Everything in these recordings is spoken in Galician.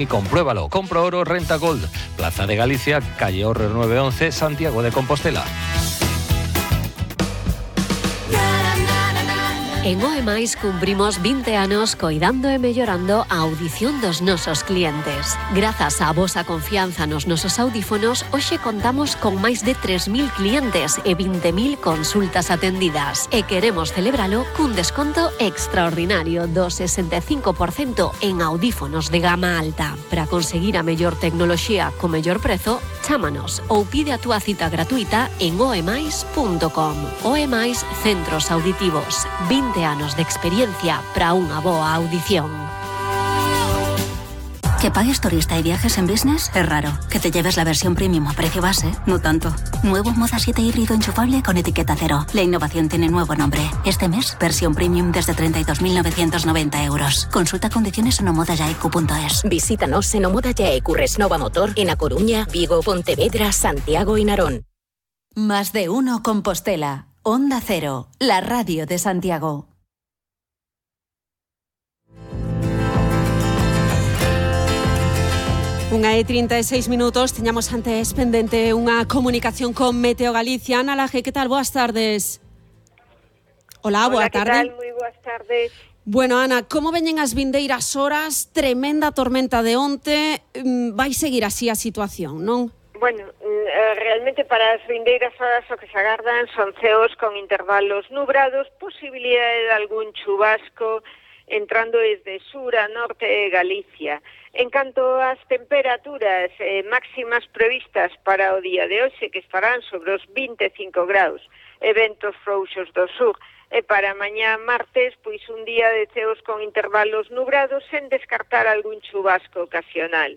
Y compruébalo. Compro Oro Renta Gold. Plaza de Galicia, calle Horrer 911, Santiago de Compostela. En OEMAIS cumprimos 20 anos coidando e mellorando a audición dos nosos clientes. Grazas á vosa confianza nos nosos audífonos, hoxe contamos con máis de 3.000 clientes e 20.000 consultas atendidas. E queremos celebralo cun desconto extraordinario do 65% en audífonos de gama alta. Para conseguir a mellor tecnoloxía co mellor prezo, chámanos ou pide a túa cita gratuita en oemais.com. OEMAIS Centros Auditivos. 20 anos de experiencia para unha boa audición. Que pagues turista y viajes en business es raro. Que te lleves la versión premium a precio base, no tanto. Nuevo Moda 7 híbrido enchufable con etiqueta cero. La innovación tiene nuevo nombre. Este mes, versión premium desde 32.990 euros. Consulta condiciones en omodayaicu.es. Visítanos en Omoda Yaicu Resnova Motor en A Coruña, Vigo, Pontevedra, Santiago y Narón. Más de uno Compostela. Onda Cero, la radio de Santiago. Unha e 36 minutos, teñamos antes pendente unha comunicación con Meteo Galicia. Ana Laje, que tal? Boas tardes. Hola, boa tarde. Que tal? Moi boas tardes. Bueno, Ana, como veñen as vindeiras horas? Tremenda tormenta de onte. Vai seguir así a situación, non? Bueno, realmente para as vindeiras horas o que se agardan son ceos con intervalos nubrados, posibilidade de algún chubasco entrando desde sur a norte de Galicia. En canto ás temperaturas máximas previstas para o día de hoxe, que estarán sobre os 25 graus, eventos frouxos do sur, e para mañá martes, pois un día de ceos con intervalos nubrados sen descartar algún chubasco ocasional.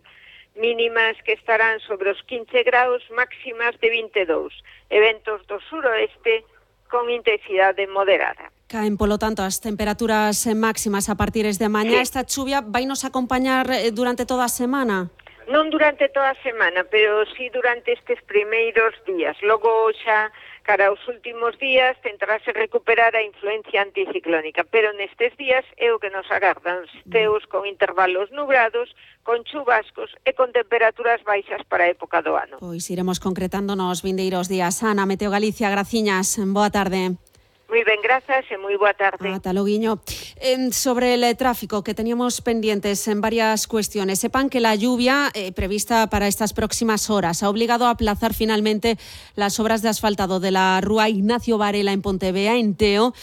Mínimas que estarán sobre os 15 graus, máximas de 22. Eventos do suroeste con intensidade moderada. Caen, polo tanto, as temperaturas máximas a partir de mañá. Sí. Esta chuvia vai nos acompañar durante toda a semana? Non durante toda a semana, pero sí durante estes primeiros días. Logo xa, cara aos últimos días, tentarase recuperar a influencia anticiclónica, pero nestes días é o que nos agardan ceos con intervalos nubrados, con chubascos e con temperaturas baixas para a época do ano. Pois iremos concretando nos vindeiros días. Ana, Meteo Galicia, graciñas, boa tarde. Moi ben, grazas e moi boa tarde. Ata loguiño. Sobre el tráfico, que teníamos pendientes en varias cuestiones. Sepan que la lluvia prevista para estas próximas horas ha obligado a aplazar finalmente las obras de asfaltado de la Rúa Ignacio Varela en Pontevea, en Teo.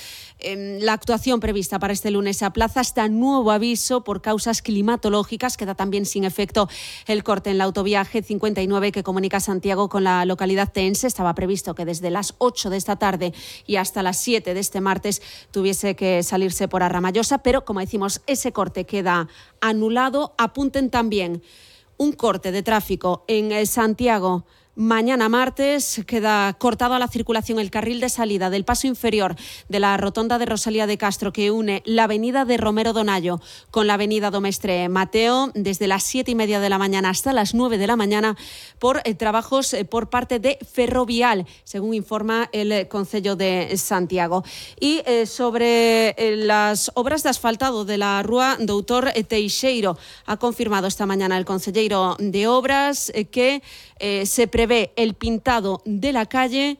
La actuación prevista para este lunes se aplaza hasta nuevo aviso por causas climatológicas. Queda también sin efecto el corte en la autovía G59 que comunica Santiago con la localidad teense. Estaba previsto que desde las 8 de esta tarde y hasta las 7 de este martes tuviese que salirse por Arramallosa, pero como decimos, ese corte queda anulado. Apunten también un corte de tráfico en Santiago. Mañana martes queda cortado a la circulación el carril de salida del paso inferior de la rotonda de Rosalía de Castro que une la avenida de Romero Donayo con la avenida Domestre Mateo desde las 7:30 de la mañana hasta las 9 de la mañana por trabajos por parte de Ferrovial, según informa el Concello de Santiago. Y sobre las obras de asfaltado de la Rúa Doutor Teixeiro, ha confirmado esta mañana el concelleiro de Obras que se prevé el pintado de la calle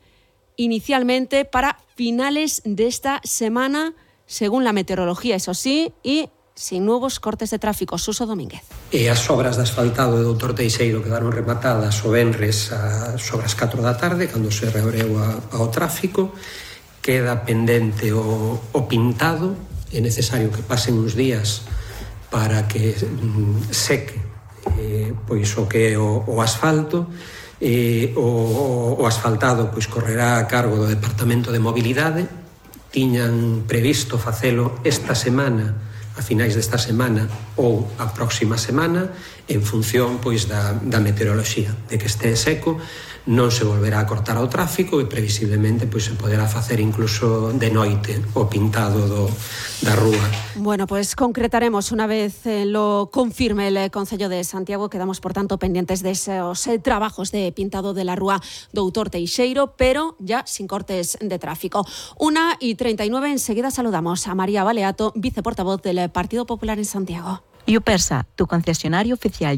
inicialmente para finales de esta semana, según la meteorología, eso sí, y sin nuevos cortes de tráfico. Suso Domínguez. E as obras de asfaltado de Doutor Teixeiro quedaron rematadas o venres sobre as 4 da tarde, cando se reabreu ao tráfico. Queda pendente o pintado. É necesario que pasen uns días para que seque pois o que é o asfalto. O asfaltado pois correrá a cargo do Departamento de Mobilidade. Tiñan previsto facelo esta semana, a finais desta semana ou a próxima semana, en función pois da meteoroloxía, de que este seco. Non se volverá a cortar o tráfico e previsiblemente pois se poderá facer incluso de noite o pintado da rúa. Bueno, pues concretaremos una vez lo confirme el Concello de Santiago. Quedamos, por tanto, pendientes de esos trabajos de pintado de la Rúa Doutor Teixeiro, pero ya sin cortes de tráfico. 1:39, enseguida saludamos a María Baleato, viceportavoz del Partido Popular en Santiago. Yupersa, tu concesionario oficial